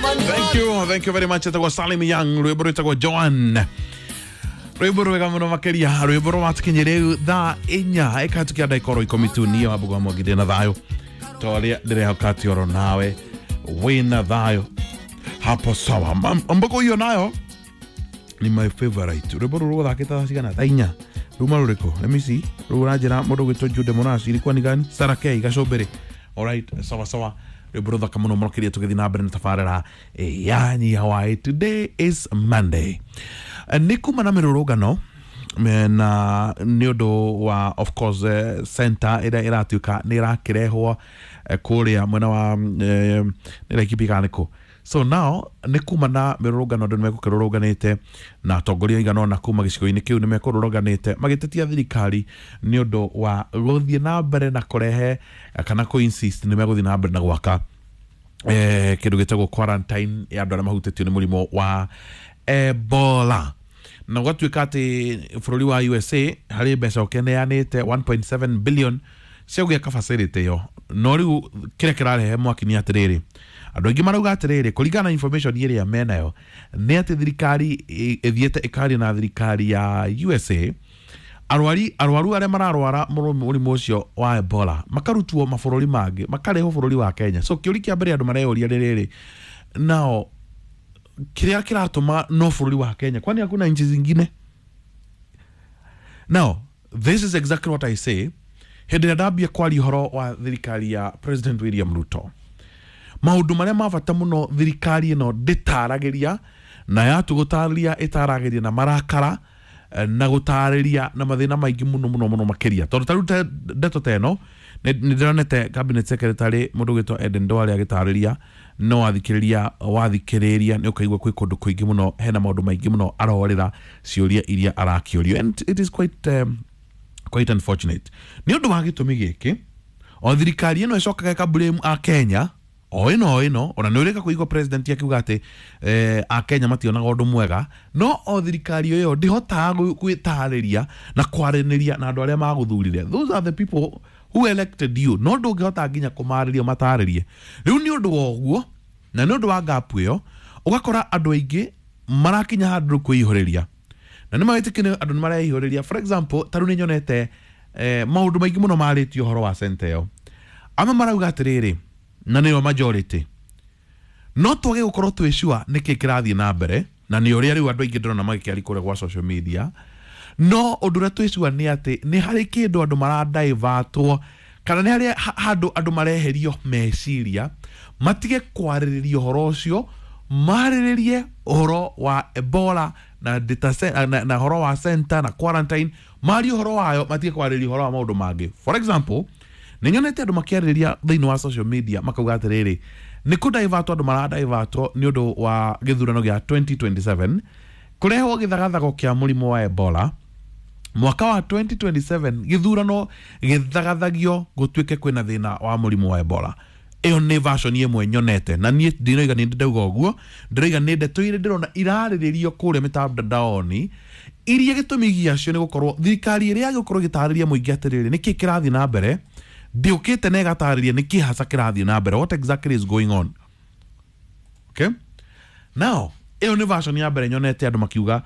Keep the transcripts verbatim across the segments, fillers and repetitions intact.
Thank you, thank you very much. Etagwo Salim Young, rwimbo rwitagwo Joan. Rwimbo rwega muno makiria, rwimbo rwatũkinyĩ rĩu thaa inya ĩkahĩtũkia ndagĩka oro ikũmi tu. Niĩ Wambũgũ wa Mwangi ndĩ na thayũ ta ũrĩa ndĩrehoka atĩ oro nawe wĩna thayũ hapo sawa. Mbogo hiyo nayo ni my favorite. Rwimbo rũrũ rũthakĩte thaa cigana? Thaa inya. Ruma rũrĩkũ? Let me see. Rũu ũranjĩra mũndũ ũgwĩtwo Jude Mũraci ilikuwa ni gani? Sarah K Gacũmbĩrĩ. Alright, sawa sawa. Rwimbo rũthaka mũno makĩria tũgĩthiĩ na mbere na tabarĩra ya Nyia Hwaĩ. Today is Monday. Nĩ kuma na mĩrũrũngano na nĩ ũndũ wa of course eh, center ĩrĩa ĩratuĩka nĩ ĩrakĩrehwo eh, kũrĩa mwena wa eh, nĩ Laikipia kana nĩkũ. So now nĩ kuma na mĩrũrũngano, andũ nĩ megũkĩrũrũnganĩte na atongoria aigana ũna kuma gĩcigo-inĩ kĩu nĩ mekũrũrũnganĩte magĩtetia thirikari nĩ ũndũ wa gũthiĩ na mbere na kũrehe kana kũ insist nĩ megũthiĩ na mbere na gwaka eh, kĩndũ gĩtagwo quarantine ya andũ arĩa mahutĩtio nĩ mũrimũ wa Ebola. Na gwatuĩka atĩ bũrũri wa U S A harĩ mbeca ũkĩneanĩte one point seven billion cia gwĩka facility ĩyo. No rĩu kĩrĩa kĩrarehe mwaki nĩ atĩrĩrĩ, andũ aingĩ marauga atĩrĩrĩ, kũringana na information ĩrĩa menayo nĩ atĩ thirikari ĩthiĩte ĩkaria na thirikari ya U S A, arwari arwaru arĩa mararwara mũrimũ ũcio wa Ebola makarutwo mabũrũri mangĩ makarehwo bũrũri wa Kenya. So kĩũria kĩa mbere andũ mareyũria nĩ rĩrĩ, nao kĩrĩa kĩratũma no bũrũri wa Kenya, kwani hakuna nchi zingine? Now this is exactly what I say hĩndĩ ĩrĩa ndambia kwaria ũhoro wa thirikari ya President William Ruto. Maũndũ marĩa ma bata mũno thirikari ĩno ndĩtaragĩria, na yatu gũtarĩria ĩtaragĩria na marakara na gũtarĩria na mathĩna maingĩ mũno mũno mũno makĩria. Tondũ ta rĩu ndeto ta ĩno nĩ ndĩronete cabinet secretary mũndũ ũgwĩtwo Eden Duale agĩtarĩria, no wathikĩrĩria wathikĩrĩria nĩ ũkaigua kwĩ kũndũ kũingĩ mũno hena maũndũ maingĩ mũno arorĩra ciũria iria arakĩũrio, and it is quite um, quite unfortunate. Nĩ ũndũ wa gĩtũmi gĩkĩ o thirikari ĩno ĩcokaga ĩka a Kenya o ĩno o ĩno, ona nĩ ũrĩka kũigua president akiuga atĩ eh, a Kenya mationaga ũndũ mwega, no o thirikari ĩyo ndĩhotaga gwĩtarĩria na kwaranĩria na andũ arĩa magũthurire. Those are the people who elected you. No ndũngĩhota nginya kũmarĩria matarĩrie. Rĩu nĩ ũndũ wa ũguo na nĩ ũndũ wa gap ĩyo ũgakora andũ aingĩ marakinya handũ kwĩihũrĩria, na nĩ mawĩtĩkio andũ nĩ mareihũrĩria. For example, ta rĩu nĩ nyonete eh, maũndũ maingĩ mũno marĩtio ũhoro wa center ĩyo. Amwe marauga atĩrĩrĩ, na nĩo majority, no twage gũkorwo twĩ sure nĩkĩ kĩrathiĩ na mbere, na nĩ ũrĩa rĩu andũ aingĩ ndĩrona magĩkĩaria kũrĩa gwa social media. No ũndũ ũrĩa twĩ sure nĩ atĩ nĩ harĩ kĩndũ andũ maradivertwo, kana nĩ harĩ handũ andũ mareherio meciria matige kwarĩrĩria ũhoro ũcio, marĩrĩrie ũhoro wa Ebola na data na, na ũhoro wa center na quarantine, marie ũhoro wayo, matige kwarĩrĩria ũhoro wa maũndũ mangĩ. For example, nĩ nyonete andũ makĩarĩrĩria thĩinĩ wa social media makauga atĩrĩrĩ, nĩ kũdivertwo andũ maradivertwo nĩ ũndũ wa gĩthurano gĩa twenty twenty-seven kũrehwo gĩthagathago kĩa mũrimũ wa Ebola mwaka wa twenty twenty-seven, gĩthurano gĩthagathagio gũtuĩke kwĩna thĩna wa mũrimũ wa Ebola. Ĩyo nĩ version ĩmwe nyonete, na niĩ ndinoiga nĩ ndauga ũguo, ndĩroiga nĩ ndeto iria ndĩrona irarĩrĩrio kũrĩa mĩtandaoni, iria gĩtũmi gĩacio nĩ gũkorwo thirikari ĩrĩa yagĩkorwo ĩgĩtarĩria mũingĩ atĩrĩrĩ nĩkĩ kĩrathiĩ na mbere, ndĩũkĩte na ĩgatarĩria nĩkĩ hasa kĩrathiĩ na mbere, what exactly is going on. Okay, now ĩyo nĩ version ya mbere nyonete andũ makiuga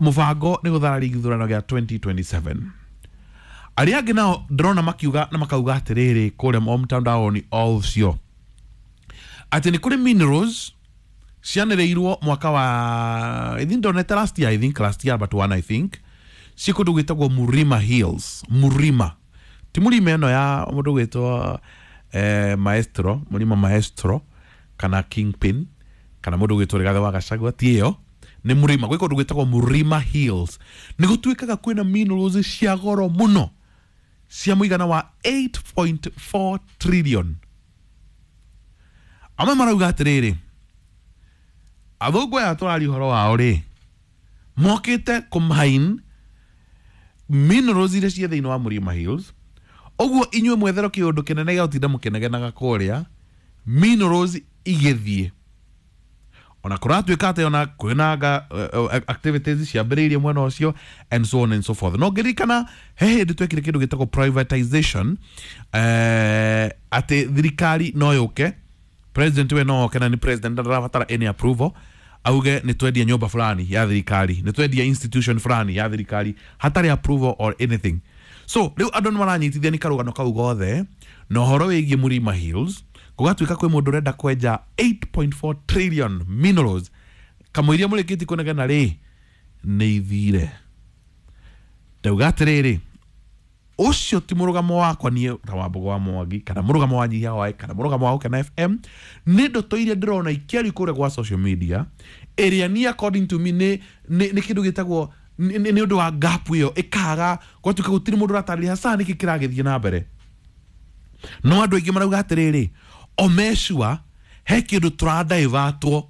mũbango nĩ gũthararia gĩthurano gĩa twenty twenty-seven. Arĩa angĩ nao ndĩrona makiuga na makauga atĩrĩrĩ kũrĩa o mtandaoni o ũcio atĩ nĩ kũrĩ minerals cianĩrĩirwo mwaka wa, I think ndonete last year, I think last year but one I think, ciĩ kũndũ gwĩtagwo Murima Hills. Murima ti mũrima ĩno ya mũndũ gwĩtwo eh, Maestro, Murima Maestro kana Kingpin kana mũndũ gwĩtwo Rigathĩ wa Gachagua, ti ĩyo, nĩ mũrima gwĩ kũndũ gwĩtagwo Murima Hills. Nĩ gũtuĩkaga kwĩna minerals cia goro mũno cia mũigana wa eight point four trillion. Amwe marauga atĩrĩrĩ, athũngũ aya tũraria ũhoro wao rĩ, mokĩte kũmine minerals iria ciĩ thĩinĩ wa Murima Hills, ũguo inyuĩ mwetherwo kĩũndũ kĩnene gĩa gũtinda mũkĩnegenaga kũrĩa minerals igĩthiĩ. Ona kũratuĩka atĩ ona kwĩna uh, activities ciambĩrĩirie mwena ũcio and so on and so forth. No ngĩririkana he hĩndĩ twekire kĩndũ gĩtagwo privatization, eh, atĩ thirikari no yũke President we no oke na nĩ president, ndarabatara any approval, auge nĩ twendia nyũmba fulani ya thirikari, nĩ twendia institution fulani ya thirikari hatarĩ approval or anything. So rĩu andũ nĩ maranyitithia nĩ karũgano kau gothe na ũhoro wĩgiĩ Murima Hills, gũgatuĩka kwĩ mũndũ ũrenda kwenja eight point four trillion minerals kamũiria mũrĩkĩtie kũnegena rĩ nĩ ithire. Ndauga atĩrĩrĩ, ũcio ti mũrũgamo wakwa niĩ ta Wambugu wa Mwangi, kana mũrũgamo wa Nyihia Hwaĩ, kana mũrũgamo wa Gũkena F M. Nĩ ndoto iria ndĩrona ikĩario kũrĩa gwa social media, ĩrĩa niĩ according to me nĩ, nĩ, nĩ kĩndũ gĩtagwo nĩ, nĩ, nĩ ũndũ wa gap ĩyo ĩkaga gwatuĩka gũtirĩ mũndũ ũratarĩria hasa nĩkĩ kĩragĩthiĩ na mbere. No andũ aingĩ marauga atĩrĩrĩ, omecua he kĩndũ tũradivertwo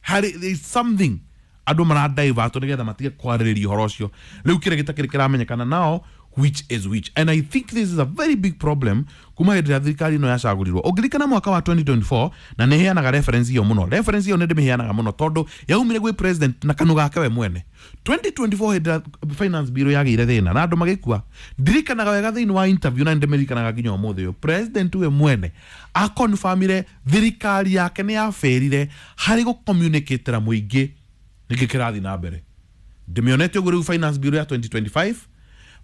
harĩ, there is something andũ maradivertwo nĩgetha matige kwarĩrĩria ũhoro ũcio. Rĩu kĩrĩa gĩtakĩrĩ kĩramenyekana nao which is which, and I think this is a very big problem kuma hĩndĩ ĩrĩa thirikari ĩno yacagũrirwo. Ũngĩririkana mwaka wa twenty twenty-four, na nĩ heanaga reference ĩyo mũno, reference ĩyo nĩ ndĩmĩheanaga mũno tondũ yaumire gwĩ president na kanua gake we mwene. twenty twenty-four hĩndĩ ĩrĩa finance bill yagĩire thĩna na andũ magĩkua, ndirikanaga wega thĩinĩ wa interview na nĩndĩmĩririkanaga nginya ũmũthĩ ũyũ, president we mwene akonfirmire thirikari yake nĩ yaferire harĩ gũcommunicatĩra mũingĩ nĩkĩ kĩrathiĩ na mbere. Ndĩmĩonete ũguo rĩu finance bill ya twenty twenty-five,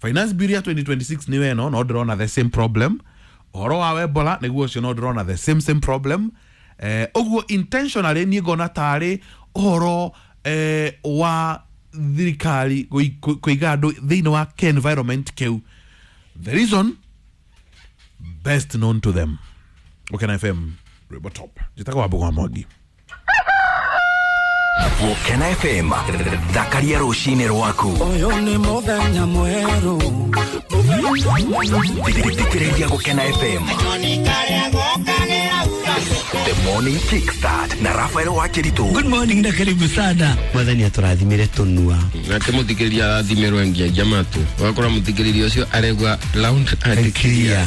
finance bill ya twenty twenty-six nĩ weno, no ndĩrona the same problem. Ũhoro wa Ebola nĩguo ũcio, no ndĩrona the same same problem. Eh, ũguo intentionally niĩ ngona tarĩ ũhoro, eh, wa thirikari kũiga andũ thĩinĩ wa environment kĩu, the reason best known to them. Gũkena F M, Rwĩmbo Top. Njĩtagwo Wambugu wa Mwangi. Gũkena F M, thakaria rũcinĩ rwaku. Ũyũ nĩ mũthenya mwerũ. Thikĩrĩria Gũkena F M. The Morning Kickstart na Raphael Wakiritu. Good morning na karibu sana. Mwathani atũrathimire tũnua. Nake mũthikĩrĩria arathimirwo nginya matũ. Ũgakora mũthikĩrĩria ũcio aregwa round and clear.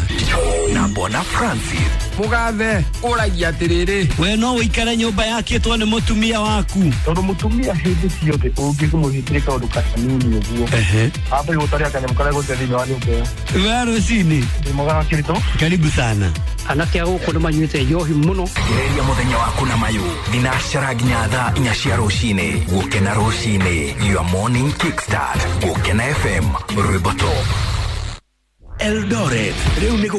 Na Bwana Francis. Mugathe ũragia atĩrĩrĩ, we no ũikare nyũmba yakĩtwo nĩ mũtumia waku. Tondũ mũtumia hĩndĩ ciothe ũngĩmũhĩtĩria kaũndũ kanini ũguo, ambe gũtaria kanyamũ karĩa gũte thĩinĩ wa nyũmba ĩyo. We rũcinĩ. Ndĩ mwega Wakiritu. Karibu sana. Anake a gũkũ nĩ manyuĩte njohi mũno. Gereria mũthenya waku na mayũ thinacara nginya thaa inya cia rũcinĩ. Gũkena rũcinĩ, your morning kickstart. Gũkena F M, Rwĩmbo Top. Eldoret rĩu nĩ